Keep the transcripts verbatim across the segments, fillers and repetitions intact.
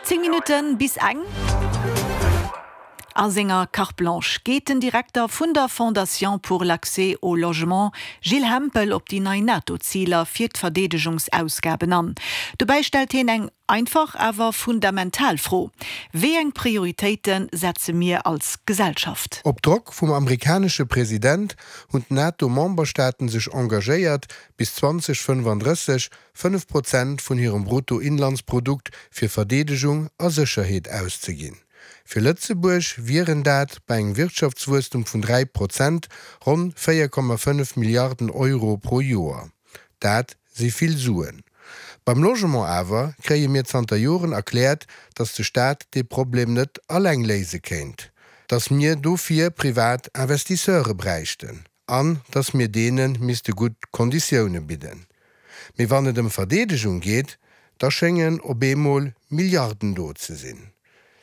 Zéng Minutten bis eng. A senger Carte Blanche geet den Direkter vun der Fondation pour l'accès au logement, Gilles Hempel, op déi nei NATO-Ziler fir d'Verdeedegungsausgaben an. Dobäi stellt hien eng einfach, awer fundamental Fro, Wéi eng Prioritéite setze mir als Gesellschaft? Op Drock vum amerikanesche President hunn d'NATO-Memberstaaten sech engagéiert, bis zwanzeg fënnefandrësseg fënnef Prozent vun hirem Bruttoinlandsprodukt fir Verdeedegung a Sécherheet auszeginn. Fir Lëtzebuerg wieren dat, bei engem Wirtschaftswuesstum vun dräi Prozent, ronn véier Komma fënnef Milliarden Euro pro Joer. Dat si vill Suen. Beim Logement awer kréie mir zanter Joren erkläert, datt de Staat dee Problem net alleng léise kéint, datt mir dofir privat Investisseure bräichten an datt mir deene misste gutt Konditioune bidden. Mee wann et ëm Verdeedegung geet, da schéngen op eemol Milliarden do ze sinn.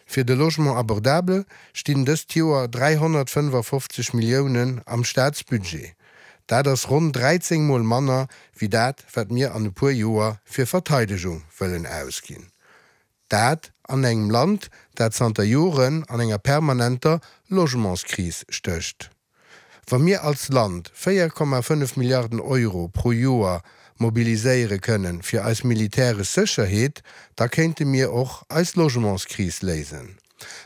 Fir de Logement abordable stinn dëst Joer dräihonnertfënnefafofzeg Milliounen am Staatsbudget. Dat ass ronn dräizéng Mol manner wéi dat, wat mir an e puer Joer fir Verteidegung wëllen ausginn. Dat an engem Land, dat zanter Joren an enger permanenter Logementskris stécht. Wa mir als Land véier Komma fënnef Milliarden Euro pro Joer mobiliséiere kënnen fir eis militäresch Sécherheet, da kéinte mir och eis Logementskris léisen.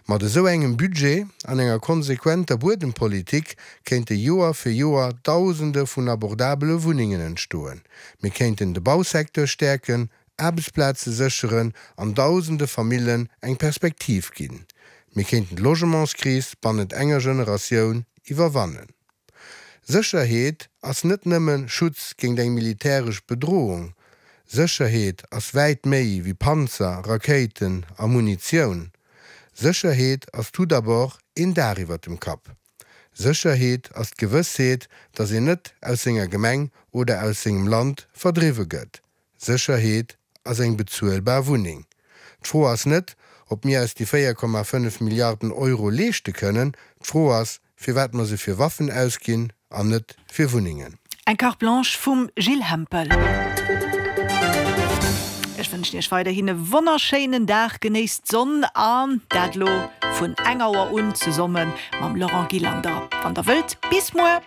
Mat esou engem Budget an enger konsequenter Buedempolitik kéinte Joer fir Joer Dausende vun abordabele Wunnengen entstoen. Mir kéinten de Bausecteur stäerken, Aarbechtsplaze sécheren an dausende Famillen eng Perspektiv ginn. Mir kéinten d'Logementskris bannent enger Generatioun iwwerwannen. Sécherheet ass net nëmme Schutz géint eng militäresch Bedrohung. Sécherheet ass wäit méi wéi Panzer, Rakéiten a Munitioun. Sécherheet ass tout d'abord een Daach iwwer dem Kapp. Sécherheet ass d'Gewëssheet, datt een net aus senger Gemeng oder aus sengem Land verdriwwe gëtt. Sécherheet ass eng bezuelbar Wunneng. D'Fro ass net, ob mir eis déi véier Komma fënnef Milliarden Euro leeschte kënnen. D'Fro ass, firwat mer se fir Waffen ausginn an net fir Wunnengen. Eng Carte Blanche vum Gilles Hempel. Ech wënschen Iech weiderhin e wonnerschéinen Dag, genéisst d'Sonn an dat lo vun eng Auer un zesomme mam Laurent Gillander. Wann der wëllt, bis muer!